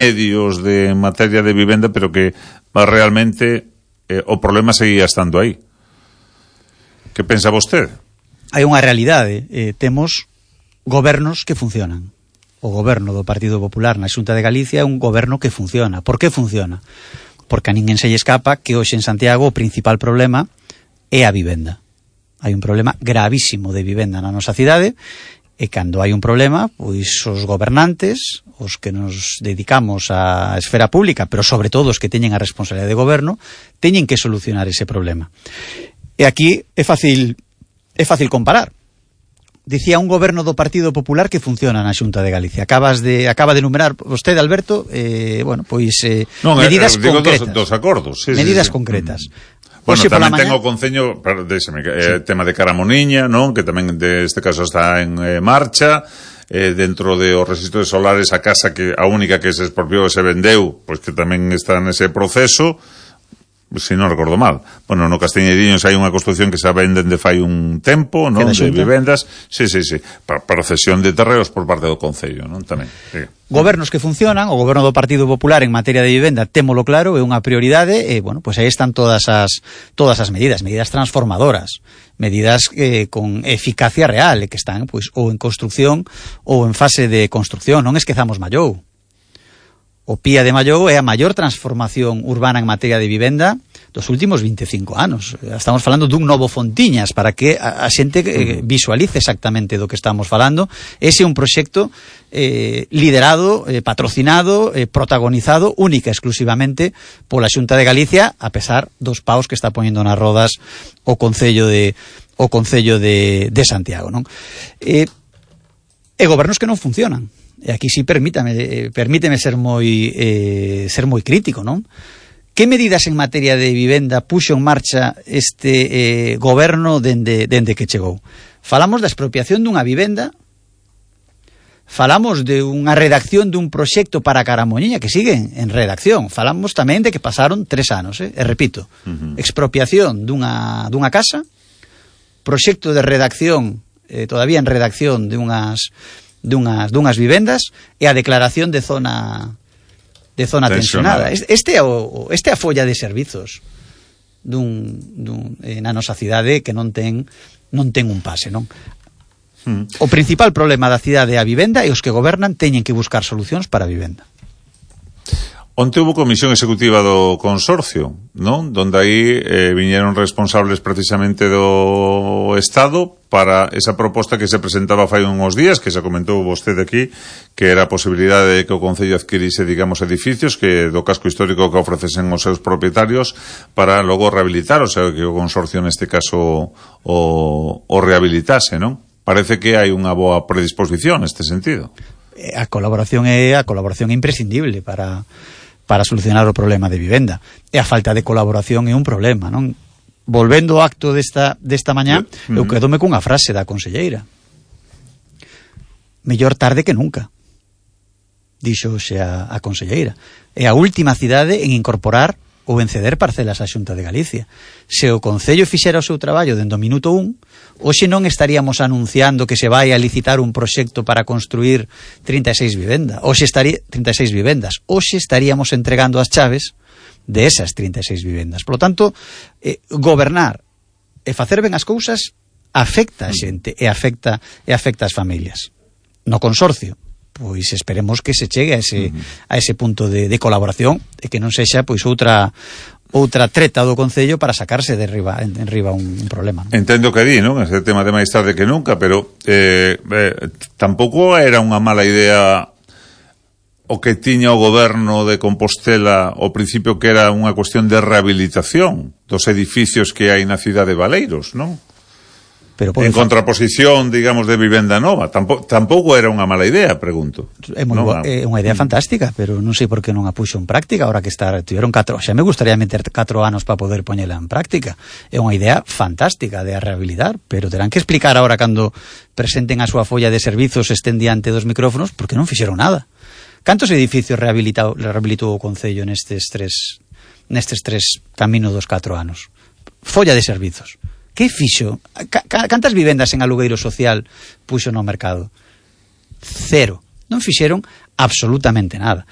medios de materia de vivenda, pero que realmente o problema seguía estando aí. Que pensa vostede? Hai unha realidade, temos gobernos que funcionan. O goberno do Partido Popular na Xunta de Galicia é un goberno que funciona. Por que funciona? Porque a ninguén se lle escapa que hoxe en Santiago o principal problema é a vivenda. Hai un problema gravísimo de vivenda na nosa cidade, e cando hai un problema, pois os gobernantes, os que nos dedicamos á esfera pública, pero sobre todo os que teñen a responsabilidade de goberno, teñen que solucionar ese problema. E aquí é fácil comparar. Dicía un goberno do Partido Popular que funciona na Xunta de Galicia. Acaba de enumerar vostede, Alberto, medidas concretas. Dos acordos. Sí, medidas concretas. Bueno, tamén ten o Concello, tema de Caramoniña, non? Que tamén deste caso está en marcha, dentro de os rexistros solares, a casa que a única que se expropiou e se vendeu, pois que tamén está nese proceso, se non recordo mal. Bueno, no Castiñeiriños hai unha construción que se venden de fai un tempo, non? De vivendas, sí, para cesión de terreos por parte do Concello, non? Tamén, sí. Gobernos que funcionan, o goberno do Partido Popular en materia de vivenda, témolo claro, é unha prioridade, e, bueno, pois aí están todas as medidas transformadoras, medidas con eficacia real, e que están, pois, ou en construcción ou en fase de construcción. Non esquezamos Mallou. O Pía de Mallou é a maior transformación urbana en materia de vivenda dos últimos 25 anos. Estamos falando dun novo Fontiñas, para que a xente visualice exactamente do que estamos falando. Ese é un proxecto liderado, patrocinado, protagonizado única e exclusivamente pola Xunta de Galicia, a pesar dos paus que está poñendo nas rodas o Concello de Santiago, non? E gobernos que non funcionan. E aquí sí permíteme ser moi crítico, non? Que medidas en materia de vivenda puxo en marcha este goberno dende que chegou? Falamos da expropiación dunha vivenda, falamos de unha redacción dun proxecto para Caramoniña que sigue en redacción, falamos tamén de que pasaron 3 anos, e repito, expropiación dunha casa, proxecto de redacción, todavía en redacción dunhas vivendas, e a declaración de zona tensionada. Este é a folla de servizos na nosa cidade que non ten un pase, non? O principal problema da cidade é a vivenda, e os que gobernan teñen que buscar solucións para a vivenda. Onte houve comisión executiva do consorcio, non? Donde aí viñeron responsables precisamente do Estado para esa proposta que se presentaba fai uns días, que se comentou vostede aquí, que era a posibilidade de que o Concello adquirise, digamos, edificios que do casco histórico que ofrecesen os seus propietarios para logo rehabilitar, o sea, que o consorcio neste caso o rehabilitase, non? Parece que hai unha boa predisposición neste sentido. A colaboración é imprescindible para solucionar o problema de vivenda. E a falta de colaboración é un problema, non? Volvendo ao acto desta mañá, eu quedome cunha frase da conselleira. Mellor tarde que nunca, dixo xe a conselleira. É a última cidade en incorporar ou en ceder parcelas á Xunta de Galicia. Se o Concello fixera o seu traballo dende o minuto 1, hoxe non estaríamos anunciando que se vai a licitar un proxecto para construir 36 vivendas. Hoxe estaríamos entregando as chaves de esas 36 vivendas. Por lo tanto, gobernar e facer ben as cousas afecta a xente e afecta as familias. No consorcio, pois esperemos que se chegue a ese punto de colaboración, e que non sexa pois outra treta do Concello para sacarse de enriba un problema, non? Entendo que di, non? Ese tema de máis tarde que nunca, pero tampouco era unha mala idea o que tiña o goberno de Compostela ao principio, que era unha cuestión de rehabilitación dos edificios que hai na cidade de Valeiros, non? Pero en contraposición, digamos, de vivenda nova. Tampouco era unha mala idea, pregunto. É unha idea fantástica, pero non sei por que non a puxo en práctica. Ahora que tiveron 4, xa me gustaría meter 4 anos para poder poñela en práctica. É unha idea fantástica de a rehabilitar, pero terán que explicar ahora, cando presenten a súa folla de servizos, estén diante dos micrófonos, porque non fixeron nada. Cantos edificios rehabilitou o Concello nestes tres camino dos 4 anos? Folla de servizos. Que fixo? Cantas vivendas en alugueiro social puxo no mercado? 0. Non fixeron absolutamente nada.